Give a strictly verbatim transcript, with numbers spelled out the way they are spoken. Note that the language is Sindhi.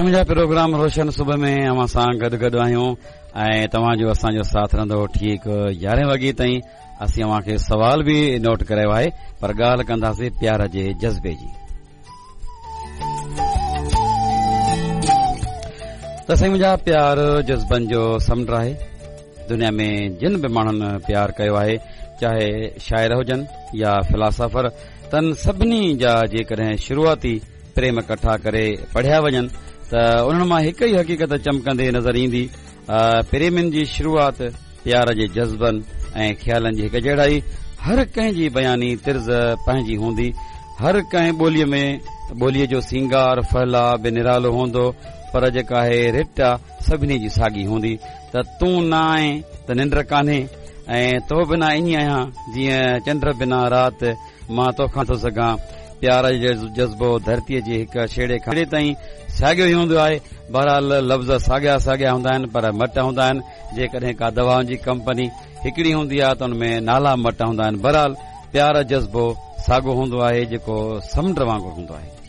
سائين منهنجا پروگرام روشن صبح ۾ اوهان سان گڏ گڏ آهيون ۽ توهان جو اسان جو ساٿ رهندو ٺيڪ يارهين وڳي تائين. اسين اوهان کي سوال به نوٽ ڪرايو آهي، پر ڳالهه ڪنداسين پيار جي جذبي جي. ته سائين منهنجا، پيار جذبن جو سمنڊ آهي. دنيا ۾ جن به ماڻهن پيار ڪيو آهي، چاهي شاعر هجن يا فلاسافر، تن سڀني جا جيڪڏهن شروعاتي پريم ڪٺا ڪري پڙهيا وڃن ته انهن مان هڪ ئي حقيقت چمڪندي نظر ايندي. پريمن جي شروعات پيار جي جذبن ۽ خيالن جي هڪ جهڙائي. هر ڪنهن جي بياني طرز پنهنجي هوندي، هر ڪنهن ٻوليء ۾ ٻوليء جو سينگار ڦهلاء به نرالو هوندو، پر جيڪا آهي رٽ سڀني جي ساڳي هوندي ته تون نه آئين ته ننڊ ڪانهي ۽ تو بنا ائين آهيان جيئن چنڊ بنا رات، مان توکان ٿو سگهان. پيار جو جذبو ڌرتيء جي هڪ ڇيڙي کان تائين ساڳيو ئي هوندو آهي. بهرحال لفظ ساڳيا ساڳيا هوندا آهن پر مٽ هوندا آهن. جيڪڏهن ڪا دوائن جي ڪمپني هڪڙي هوندي آهي ته ان ۾ نالا مٽ هوندا آهن. بهرحال پيار جذبو ساڳو هوندو آهي جيڪو سمنڊ وانگر هوندو آهي.